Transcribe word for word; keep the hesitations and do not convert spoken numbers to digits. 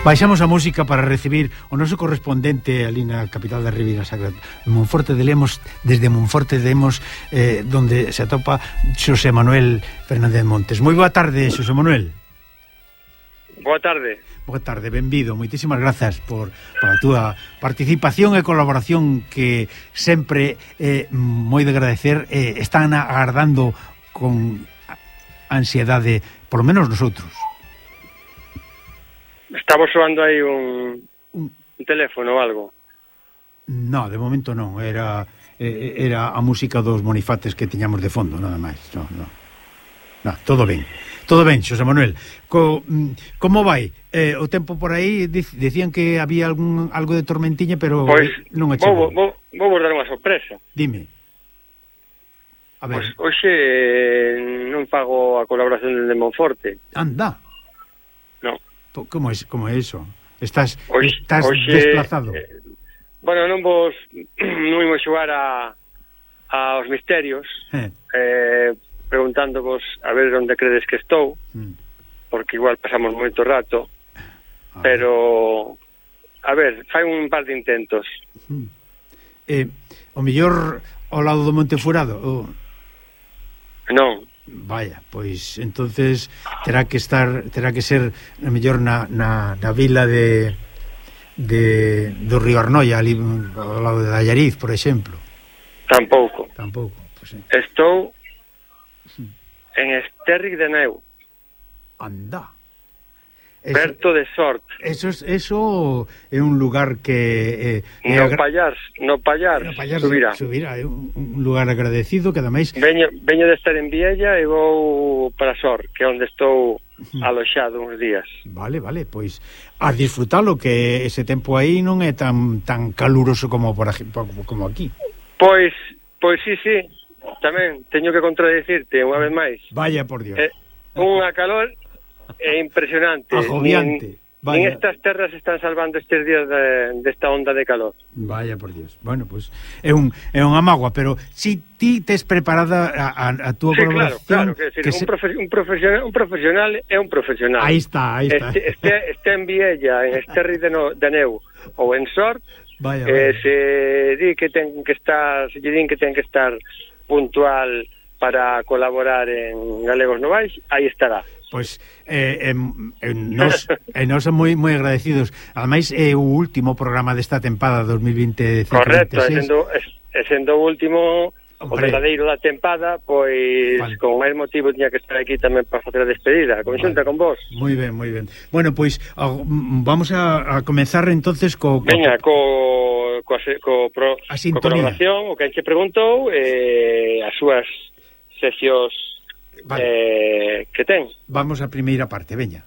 Baixamos a música para recibir o noso correspondente ali na capital da Ribeira Sacra, Monforte de Lemos, desde Monforte de Lemos, eh, donde se atopa Xosé Manuel Fernández Montes. Moi boa tarde, Xosé Manuel. Boa tarde. Boa tarde, benvido. Moitísimas grazas por, por a túa participación e colaboración que sempre é eh, moi de agradecer. Eh, están agardando con ansiedade, por lo menos nosotros. Estamos soando aí un, un teléfono ou algo? No, de momento non. Era eh, era a música dos Monifates que tiñamos de fondo, nada máis. No, no. No, todo ben. Todo ben, Xosé Manuel. Co, como vai? Eh, o tempo por aí dicían que había algún algo de tormentiña, pero pois, non achegou. Pois vou, vou, vou dar unha sorpresa. Dime. A ver. Pois hoxe non pago a colaboración de Monforte. Anda. No. Como é, como é eso? Estás, oxe, estás oxe, desplazado? Eh, bueno, non vos non imos xogar a aos misterios, eh. Eh, preguntándovos a ver onde credes que estou, mm. porque igual pasamos moito rato, a pero a ver, fai un par de intentos. Mm. Eh, o mellor ao lado do Monte Furado? O... Non. Vaya, pois entonces terá que estar, terá que ser a mellor na, na, na vila de de do Río Arnoia, ali ao lado de Allariz, por exemplo. Tampouco. Tampouco, pois sí. Estou en Esterri de Neu. Anda. Berto de Sort. Eso es, eso é un lugar que eh, no agra... Pallar, no Pallar, no Pallar subirá. Subirá, é un, un lugar agradecido que ademais veño, veño de estar en Viella e vou para Sor, que é onde estou aloxado uns días. Vale, vale, pois a disfrutalo, que ese tempo aí non é tan tan caluroso como por como aquí. Pois, pois sí, sí. Tamén teño que contradicirte unha vez máis. Vaya por Dios. Eh, unha calor é impresionante. Agobiante. Nin, nin estas terras están salvando estes días de, desta onda de calor. Vaya por Dios. Bueno, pues é un é unha mágoa, pero si ti tes preparada a, a, a túa sí, colaboración, claro, claro, que decir, que un, se... profe, un profesional, un profesional é un profesional. Aí está, aí está. Este, este, este en Viella, en Esterri de, no, de Neu ou en Sort, vaya, eh, vaya. se di que ten que estar, se lle din que ten que estar puntual para colaborar en Galegos Novais, aí estará. Pois eh, en, en nos, en nos moi moi agradecidos. Ademais é o último programa desta tempada dos mil vinte. Correcto, e sendo, e sendo o último, hombre, o verdadeiro da tempada, pois vale, con máis motivo tiña que estar aquí tamén para facer a despedida, conxunta vale, con vos. Moi ben, moi ben. Bueno, pois vamos a, a comenzar entonces co, co Veña, co co, co, pro, co colaboración, o que enche preguntou, eh, as súas sesións vale, eh, que ten. Vamos á primeira parte, veña.